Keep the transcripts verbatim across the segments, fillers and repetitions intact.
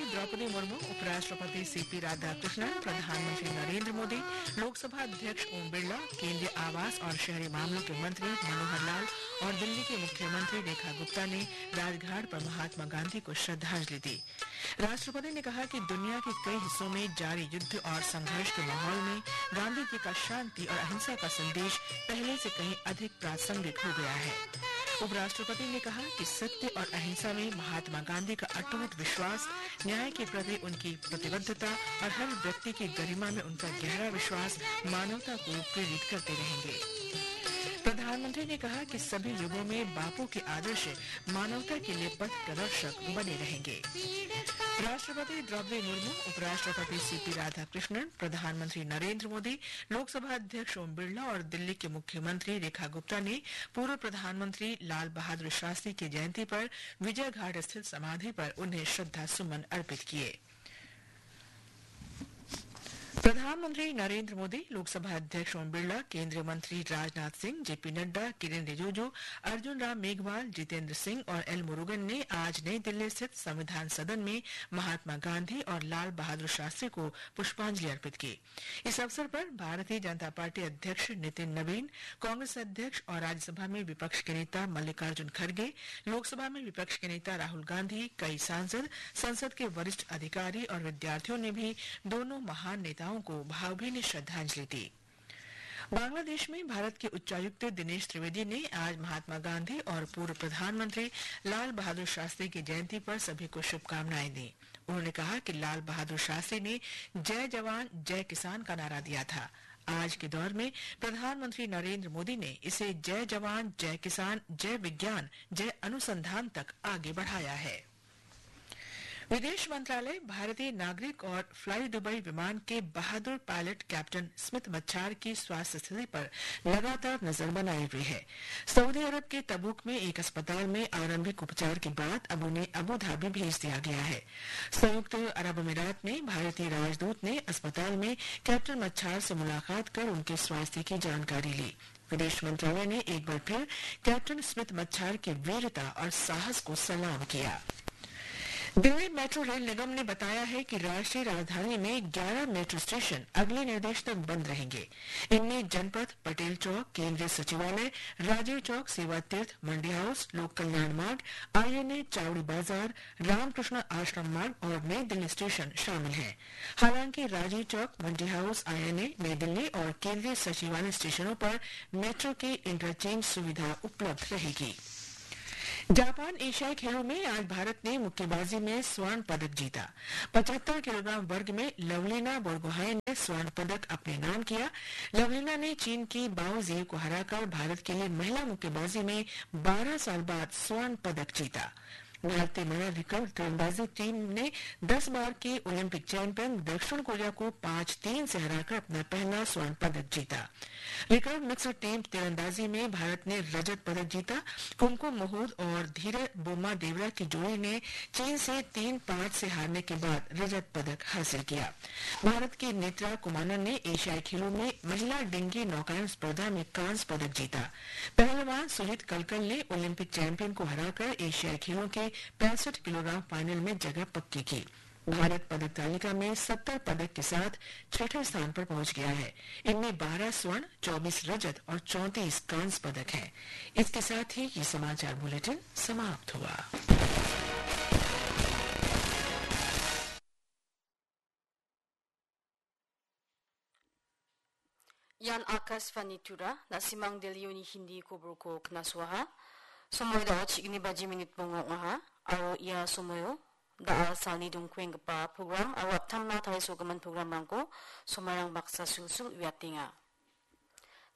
द्रौपदी मुर्मू, उपराष्ट्रपति सीपी राधाकृष्णन, प्रधानमंत्री नरेंद्र मोदी, लोकसभा अध्यक्ष ओम बिरला, केंद्रीय आवास और शहरी मामलों के मंत्री मनोहर लाल और दिल्ली की मुख्यमंत्री रेखा गुप्ता ने राजघाट पर महात्मा गांधी को श्रद्धांजलि दी। राष्ट्रपति ने कहा कि दुनिया के कई हिस्सों में जारी युद्ध और संघर्ष के माहौल में गांधी जी का शांति और अहिंसा का संदेश पहले से कहीं अधिक प्रासंगिक हो गया है। उपराष्ट्रपति ने कहा कि सत्य और अहिंसा में महात्मा गांधी का अटूट विश्वास, न्याय के प्रति उनकी प्रतिबद्धता और हर व्यक्ति की गरिमा में उनका गहरा विश्वास मानवता को प्रेरित करते रहेंगे। प्रधानमंत्री ने कहा कि सभी युगों में बापू के आदर्श मानवता के लिए पथ प्रदर्शक बने रहेंगे। राष्ट्रपति द्रौपदी मुर्मू, उपराष्ट्रपति सीपी राधाकृष्णन, प्रधानमंत्री नरेंद्र मोदी, लोकसभा अध्यक्ष ओम बिरला और दिल्ली के मुख्यमंत्री रेखा गुप्ता ने पूर्व प्रधानमंत्री लाल बहादुर शास्त्री की जयंती पर विजय घाट स्थित समाधि पर उन्हें श्रद्धा सुमन अर्पित किए। प्रधानमंत्री नरेंद्र मोदी, लोकसभा अध्यक्ष ओम बिरला, केंद्रीय मंत्री राजनाथ सिंह, जेपी नड्डा, किरेन रिजिजू, अर्जुन राम मेघवाल, जितेंद्र सिंह और एल मुरुगन ने आज नई दिल्ली स्थित संविधान सदन में महात्मा गांधी और लाल बहादुर शास्त्री को पुष्पांजलि अर्पित की। इस अवसर पर भारतीय जनता पार्टी अध्यक्ष नितिन नवीन, कांग्रेस अध्यक्ष और राज्यसभा में विपक्ष के नेता मल्लिकार्जुन खड़गे, लोकसभा में विपक्ष के नेता राहुल गांधी, कई सांसद, संसद के वरिष्ठ अधिकारी और विद्यार्थियों ने भी दोनों महान नेताओं को भावभीनी श्रद्धांजलि दी। बांग्लादेश में भारत के उच्चायुक्त दिनेश त्रिवेदी ने आज महात्मा गांधी और पूर्व प्रधानमंत्री लाल बहादुर शास्त्री की जयंती पर सभी को शुभकामनाएं दी। उन्होंने कहा कि लाल बहादुर शास्त्री ने "जय जवान, जय किसान" का नारा दिया था। आज के दौर में प्रधानमंत्री नरेंद्र मोदी ने इसे "जय जवान, जय किसान, जय विज्ञान, जय अनुसंधान" तक आगे बढ़ाया है। विदेश मंत्रालय भारतीय नागरिक और फ्लाई दुबई विमान के बहादुर पायलट कैप्टन स्मित मच्छार की स्वास्थ्य स्थिति पर लगातार नजर बनाए हुए है। सऊदी अरब के तबूक में एक अस्पताल में आरंभिक उपचार के बाद अब उन्हें अबू धाबी भेज दिया गया है। संयुक्त अरब अमीरात में भारतीय राजदूत ने अस्पताल में कैप्टन मच्छार से मुलाकात कर उनके स्वास्थ्य की जानकारी ली। विदेश मंत्रालय ने एक बार फिर कैप्टन स्मित मच्छार की वीरता और साहस को सलाम किया। दिल्ली मेट्रो रेल निगम ने बताया है कि राष्ट्रीय राजधानी में ग्यारह मेट्रो स्टेशन अगले निर्देश तक बंद रहेंगे। इनमें जनपथ, पटेल चौक, केंद्रीय सचिवालय, राजीव चौक, सेवा तीर्थ, मंडी हाउस, लोक कल्याण मार्ग, आईएनए, चावड़ी बाजार, रामकृष्ण आश्रम मार्ग और नई दिल्ली स्टेशन शामिल हैं। हालांकि राजीव चौक, मंडी हाउस, आईएनए, नई दिल्ली और केंद्रीय सचिवालय स्टेशनों पर मेट्रो की इंटरचेंज सुविधा उपलब्ध रहेगी। जापान एशियाई खेलों में आज भारत ने मुक्केबाजी में स्वर्ण पदक जीता। पचहत्तर किलोग्राम वर्ग में लवलीना बोरगोहाई ने स्वर्ण पदक अपने नाम किया। लवलीना ने चीन की बाओ जियू को हराकर भारत के लिए महिला मुक्केबाजी में बारह साल बाद स्वर्ण पदक जीता। भारतीय महिला रिकर्व तीरंदाजी टीम ने दस बार की ओलंपिक चैंपियन दक्षिण कोरिया को पाँच तीन से हराकर अपना पहला स्वर्ण पदक जीता। रिकर्व मिक्स्ड टीम तीरंदाजी में भारत ने रजत पदक जीता। कुमकुम मोहूद और धीरज बोम्मा देवरा की जोड़ी ने चीन से तीन पाँच से हारने के बाद रजत पदक हासिल किया। भारत की नेत्रा कुमारन ने एशियाई खेलों में महिला डिंगी नौकायन स्पर्धा में कांस्य पदक जीता। पहलवान सुजीत कलकल ने ओलंपिक चैंपियन को हराकर एशियाई खेलों के पैंसठ किलोग्राम फाइनल में जगह पक्की की। भारत पदक तालिका में सत्तर पदक के साथ छठे स्थान पर पहुंच गया है। इनमें बारह स्वर्ण, चौबीस रजत और चौंतीस कांस्य पदक हैं। इसके साथ ही ये समाचार बुलेटिन समाप्त हुआ। Ian Akashvani Tura, na·simang Delhioni Hindi koborko knasoaha. Somoidao chigni baji minit bonga ong·aha, aro ia somoio da·al salni dongkuenggipa program aro aptamna tarisogimin programrangko somairang baksa sulsul uiatenga.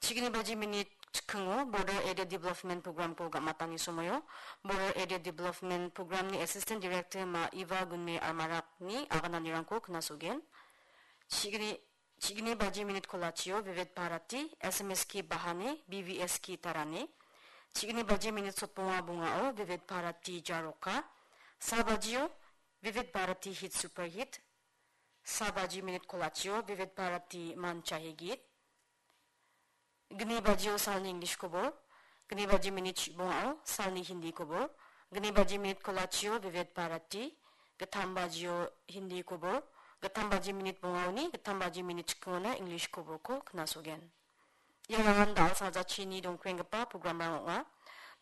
Chigni baji minit chikingo Border Area Development Programko ga·matani somoio Border Area Development Programni Assistant Director ma Iva Gunme Armarakni agananirangko knasogen. Chigni, chigni baji minit kolachio Vivid Bharati, S M S ki bahani, B V S ki tarani. Chigni baji minit sotbonga bongao Vivid Bharati Jaroka. Sa bajio Vivid Bharati Hit Super Hit. Sa baji minit kolachio Vivid Bharati Manchahi Git. Gni bajio salni English kobor, gni baji minit chibongao salni Hindi kobor, gni baji minit kolachio Vivid Bharati, gittam bajio Hindi kobo, gittam baji minit bongaoni, gittam baji minit chikingona English koborko knasogen. Iarangan da·alsa jachini dongkuenggipa programrang ong·a.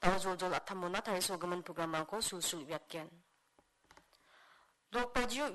Da·o joljol attamona tarisogimin programrangko sulsul uiatgen. Nok bajio